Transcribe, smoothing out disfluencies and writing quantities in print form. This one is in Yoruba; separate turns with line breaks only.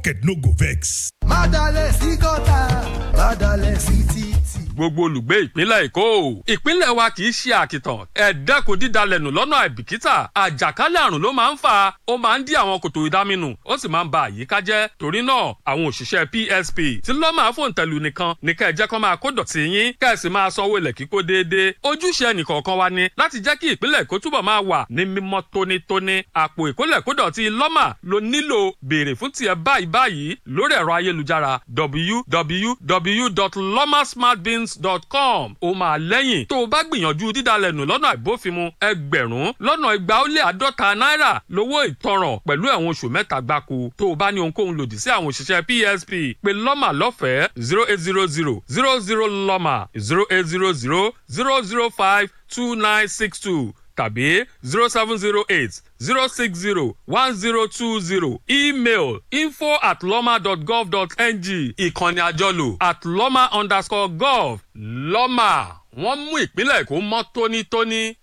Pocket no go vex.
Má dalẹ̀ sí gọ́tà, má dalẹ̀ sí títì.
Gbogbo olùgbé ìpínlẹ̀ Èkó, ìpínlẹ̀ wa kì í ṣe àkìtàn. Ẹ dẹ́kun dídalẹ̀nù lọ́nà àìbìkítà. Àjàkálẹ̀ àrùn ló máa ń fà. Ó máa ń dí àwọn kòtò ìdáminù, ó sì máa ń ba àyíká jẹ́. Torí náà, àwọn òṣìṣẹ́ PSP tí lọ́mà fòǹtẹ̀lù nìkan ní kẹ́ ẹ jẹ́ kó máa kó dọ̀tí yín, kẹ́ ẹ sì máa sanwó ilẹ̀ kíkó déédéé. Ojúṣe ẹnìkọ̀ọ̀kan wa ni láti jẹ́ kí ìpínlẹ̀ Èkó túbọ̀ máa wà ní mímọ́ tónítóní. Àpò ìkólẹ̀kódọ̀tí lọ́mà ló nílò. Béèrè fún tiẹ̀ báyìí báyìí lórí ẹ̀rọ ayélujára www.lomasmartbins.com. Ó máa lẹ́yìn tó o bá gbìyànjú dídalẹ̀nù lọ́nà àìbófinmu, 250,000 náírà lówó ìtanràn pẹ̀lú ẹ̀wọ̀n oṣù 3 gbáko. Tó o bá ní ohunkóhun lòdì sí àwọn òṣìṣẹ́ PSP, pé lọ́mà lọ́fẹ̀ẹ́ 0800 00 lọ́mà, 0800 005 2962 tàbí 0708 060 1020. Email info@loma.gov.ng. Ìkànnì àjọlò @loma_gov. Lọ́mà, wọ́n mú ìpínlẹ̀ Èkó mọ́ tónítóní.